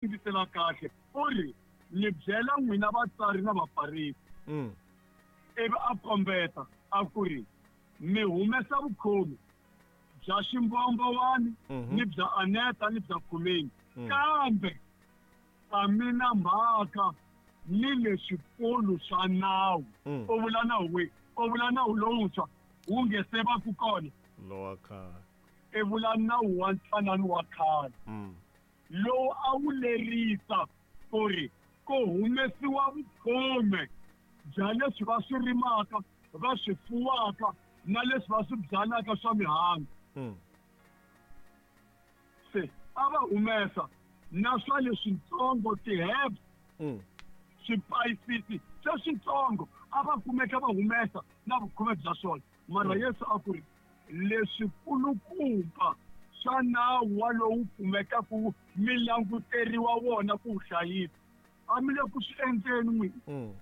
Yingisela kahle, u ri, Ni byela n'wina vatsari na Vafarisi. Ivi a kombeta a ku ri, Mi humesa vukhomi bya ximbombowani ni bya aneta ni bya khumeni, kambe a mi na mhaka ni leswikulu swa nawu. U vula nawu wihi? U vula nawu lowuntshwa wu nge se va ku kona. Lowa khale. I vula nawu wa ntwanano wa khale. Lowu a wu lerisa ku ri ku humesiwa vukhume bya leswi va swi rimaka, va swi fuwaka na leswi va swi byalaka swa mihandzu. Se a va humesa na swa leswitsongo, ti-herbs, swipayisisi sweswitsongo a va kumeka va humesa na vukhume bya swona. Mara Yesu a ku ri, Leswikulukumba swa nawu walowu kumekaka mi languteriwa wona ku wu hlayisa, a mi le ku swi endleni n'wina.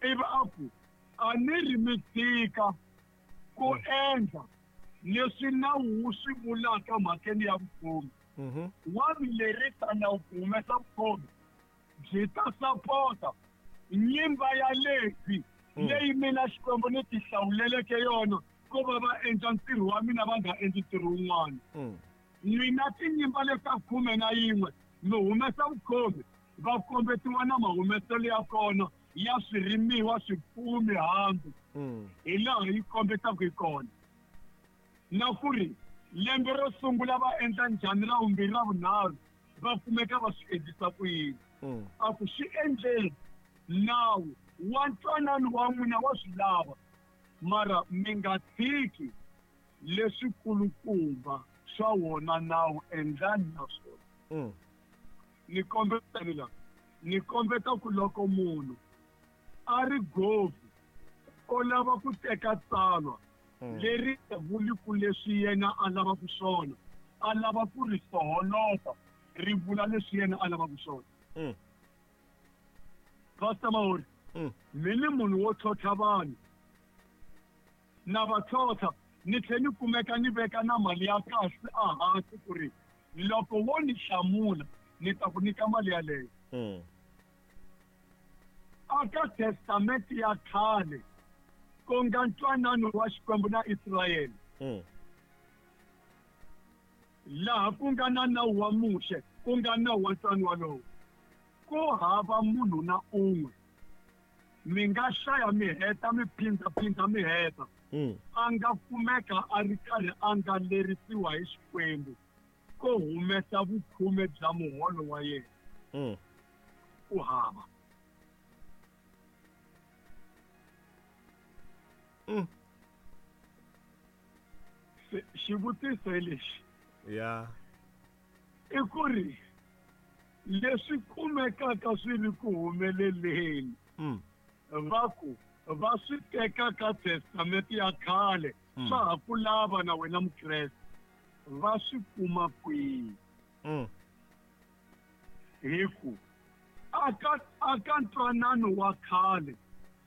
Ivi a ku, A ni ri mi tshika ku endla leswi nawu wu swi vulaka mhakeni ya vukhomi. Wa mi lerisa nawu ku humesa vukhomi. Byi ta sapota nyimba ya Levhi leyi mina Xikwembu ni tihlawuleleke yona ku va va endla ntirho wa mina va nga endli ntirho wun'wana. N'wina tinyimba leta 11 mi humesa vukhomi, va kombetiwa na mahumeselo ya kona ya swirimiwa, swifuwo, mihandzu, hi laha yi kombetaka hi kona. Na ku ri lembe ro sungula va endla njhani, ra vumbirhi, ra vunharhu va kumeka va swi endlisa ku yini. A ku swi endleni, nawu wa ntwanano wa n'wina wa swi lava, mara mi nga tshiki leswikulukumba swa wona nawu, endlani na swona. Ni kombeta ni la, ni kombeta ku loko munhu a ri govi o lava ku teka tsalwa leri nga vuli ku leswi yena a lavaka swona, a lava ku ri soholota ri vula leswi yena a lavaka swona. Pastor Mahori, mi ni munhu wo tlhontlha vanhu, na va tlhontlha ni tlhe ni kumeka ni veka na mali ya kahle ehansi ku ri loko wo ni hlamula ni ta ku nyika mali yaleyo. Aka Testamente ya khale, ku nga ntwanano wa Xikwembu na Israyele, laha ku nga na nawu wa Muxe, ku nga nawu wa ntwanano walowo, ku hava munhu na un'we, mi nga hlaya mi heta mi phindha-phindha mi heta, a nga kumeka a ri karhi a nga lerisiwa hi Xikwembu ko humesa vukhume bya muholo wa yena. Ku hava. Se, xivutiso hi lexi. I ku ri leswi kumekaka swi ri ku humeleleni, va ku va swi teka ka Testamente ya khale, swa ha ku lava na wena Mukreste, va swi kuma kwihi? Hi ku aka ntwanano wa khale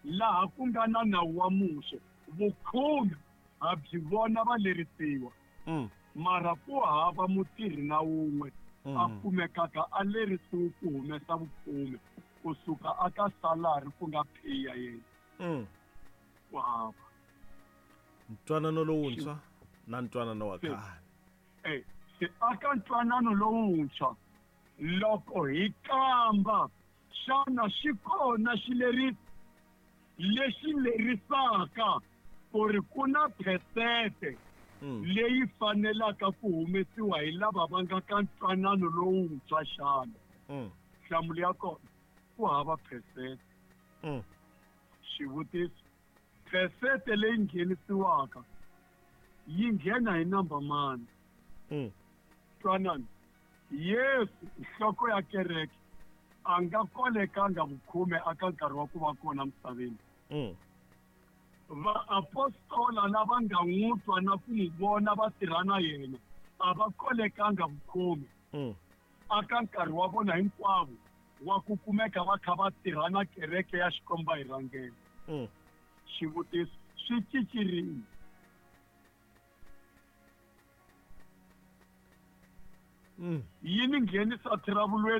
laha ku nga na nawu wa Muxe, vukhume ha byi vona va lerisiwa, mara ku hava mutirhi na wun'we a kumekaka a lerisiwe ku humesa vukhume kusuka aka salari ku nga pay ya yena. Ku hava. Ntwanano lowuntshwa na ntwanano wa khale. Se aka ntwanano lowuntshwa, loko hi kamba xana xi kona xileriso lexi lerisaka ku ri ku na phesente leyi fanelaka ku humesiwa hi lava va nga ka ntwanano lowuntshwa xana? Nhlamulo ya kona, ku hava phesente. Xivutiso, phesente leyi nghenisiwaka yi nghena hi namba mani? Twanani, Yesu, nhloko ya kereke, a nga kolekanga vukhume aka nkarhi wa ku va kona misaveni. Vaapostola lava nga n'wi twa na ku n'wi vona va tirha na yena a va kolekanga vukhume aka nkarhi wa vona hinkwavo wa ku kumeka va kha va tirha na kereke ya Xikwembu va yi rhangela. Xivutiso, swi cincirini? Yi ni nghenisa thiravulweni.